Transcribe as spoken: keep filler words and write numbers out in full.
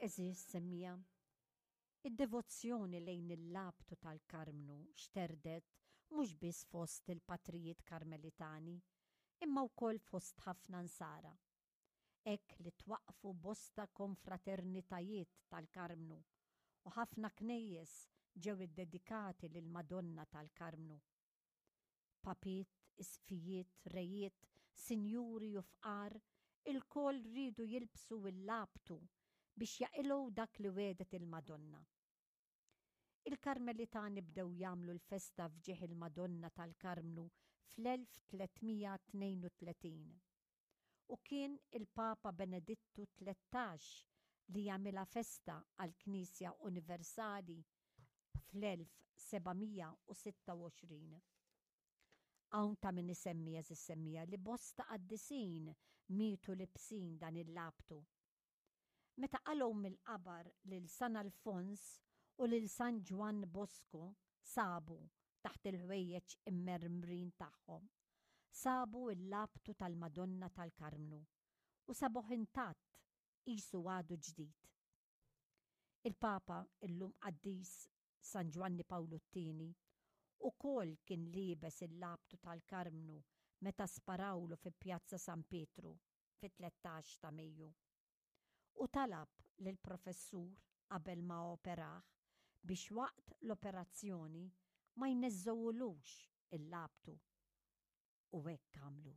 Għeżież semmiegħa, id-devozzjoni lejn il-labtu tal-Karmnu xterdet mhux biss fost il-patrijiet Karmelitani, imma wkoll fost ħafna Nsara. Hekk li twaqqfu bosta konfraternitajiet tal-Karmnu u ħafna knejjes ġew iddedikati lill-Madonna tal-Karmnu. Papiet, isqfijiet, rejiet, sinjuri u fqar, ilkoll riedu jilbsu l-labtu biex jaqilgħu dak li wegħdet il-Madonna. Il-Karmelitani bdew jagħmlu l-festa f'ġieħ il-Madonna tal-Karmnu fl-elf tliet mija tnejn u tletin. U kien il-Papa Benedittu tlettax li jagħmilha festa għall-Knisja Universali fl-elf seba' mija u sitta u għoxrin. Hawn ta' min isemmi, għeżież semmiegħa, li bosta qaddisin mietu libsin dan il-labtu. Meta qalgħu mill-qabar lil San Alfons u lil San Ġwann Bosco sabu taħt il-ħwejjeġ immermrin tagħhom, sabu il-labtu tal-Madonna tal-Karmnu u sabuh intatt qisu għadu ġdid. Il-Papa illum qaddis San Ġwanni Pawlu t-tieni ukoll kien liebes il-labtu tal-Karmnu meta sparawlu fi Pjazza San Pietru fit-tlettax ta' Mejju. U talab lill-professur qabel ma operah biex waqt l-operazzjoni ma jneżżewulux il-labtu. U hekk għamlu.